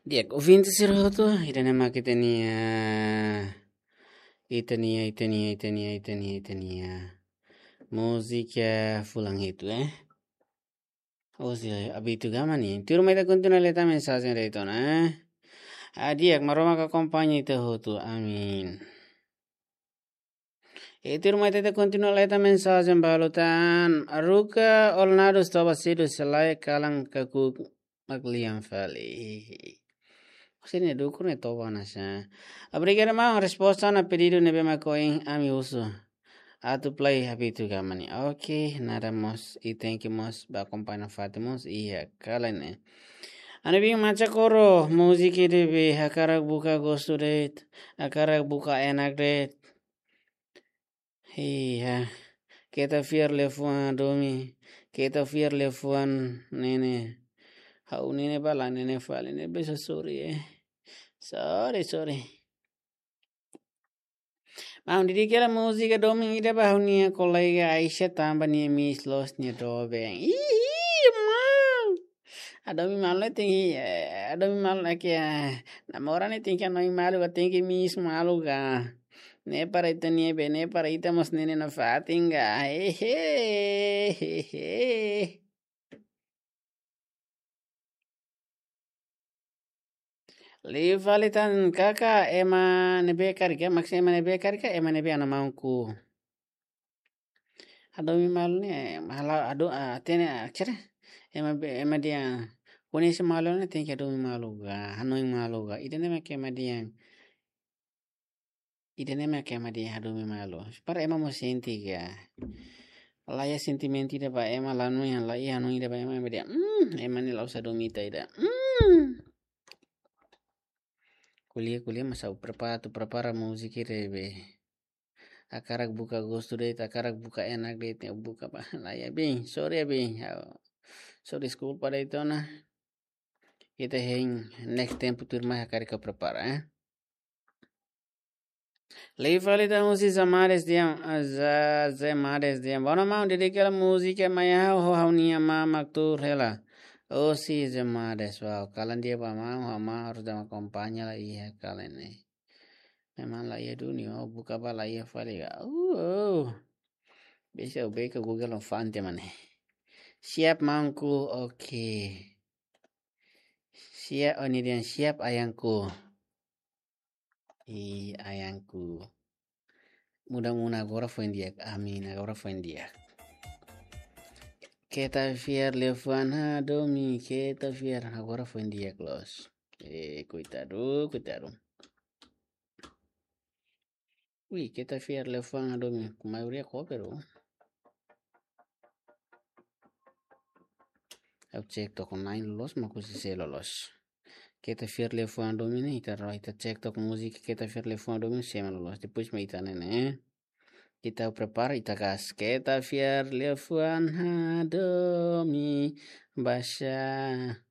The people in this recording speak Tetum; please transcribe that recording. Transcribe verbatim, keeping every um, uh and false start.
Di'ak, ouvinte sira hotu, ida-ne'e mak ita-nia, ita-nia, ita-nia, ita-nia, ita-nia, ita-nia múzika fulan hitu, eh. Husi Abitu Gama nian. Tuirmai ita kontinua lee tan mensajen de'it ona, eh. Ah, di'ak, Maromak akompaña ita hotu. Amin. E tuirmai ita kontinua lee tan mensajen balu tan. Ruka Olnado Stobasidu Selai Kalan Kakuk Maklian Fali. Husi ne'e dukur ne'e toba ona sá. Obrigadu maun, resposta ona pedidu ne'ebé mak ohin ami husu. Atu play Abitu Gama nian. Oke, nada mós, i thank you mós ba akompaña fatin mós iha kalan ne'e. Ha'u-nia biin Macha Koro, múzika ida be hakarak buka gostu de'it, hakarak buka enak de'it. Iya, keta fiar liafuan hadomi, keta fiar liafuan ne'e ne'e. Ha'u ne'e ne'e ba la ne'e ne'e fali ne'e be só sorry, eh. Sorry, sorry. Maun, dedika hela múzika domin ida ba ha'u-nia kolega Aisha tanba nia miss loos nia doben. Ih, maun. Hadomi malu ne'e tenke, eh, hadomi malu ne'e ke, eh, namora ne'e tenke hanoin malu ka, tenke miss malu ka. Ne'e para ita-nia be, ne'e para ita mós ne'e ne'e nafatin ka. Hehe, hehe. Liu fali tan kaka ema ne'ebé karik, maksudnya ema ne'ebé karik, ema ne'ebé ana maunku. Hadomi malu ne'e, malu adu, ah, hatene, ah, kira. Ema be, ema dehan, koñese malu ne'e tenke hadomi malu ka, hanoin malu ka. Ida-ne'e mak ema dehan. Ida-ne'e mak ema dehan hadomi malu. Para ema mós sente ka. La iha sentimentu ida ba ema, la hanoin, la iha hanoin ida ba ema, ema dehan, "Hmm, ema ne'e la'ós hadomi ita ida." Hmm. Ko'alia, ko'alia, mas ha'u prepara, atu prepara múzika ida be. Hakarak buka gostu de'it, hakarak buka enak de'it, buka ba. La iha biin, sorry ya biin. Ha'u, sorry, deskulpa de'it ona. Ita hein next tempu tuirmai hakarak ha'u prepara, eh. Liu fali tan husi Zamades dehan, ah, Za-, Zamades dehan. Boa noite maun, dedika hela múzika mai ha'u ho ha'u-nia amá mak tuur hela. Husi Zamades, wow, kalan di'ak ba maun, ho amá harus dama akompaña la iha kalan ne'e. Memang la iha duni, oh, buka ba la iha fali ka. Uh, oh. Bisa ubeka Google no fante mane. Siap maunku, oke. Siap, oh, ne'e dehan siap ayangku. I ayangku. Mudah-mudahan agora foin di'ak. Amin, agora foin di'ak. Keta fiar liafuan hadomi, keta fiar, agora foin di'ak loos. Eh, koitadu, koitadu. Ui, keta fiar liafuan hadomi, maioria cover, oh. Ha'u cek to'o na'in loloos, mak husi sé loloos. Keta fiar liafuan hadomi ne'e, ita ro, ita cek to'o múzika, keta fiar liafuan hadomi sé mak loloos. Depois mak ita ne'e ne'e. Ita prepara, ita gas. Keta fiar liafuan hadomi, basa.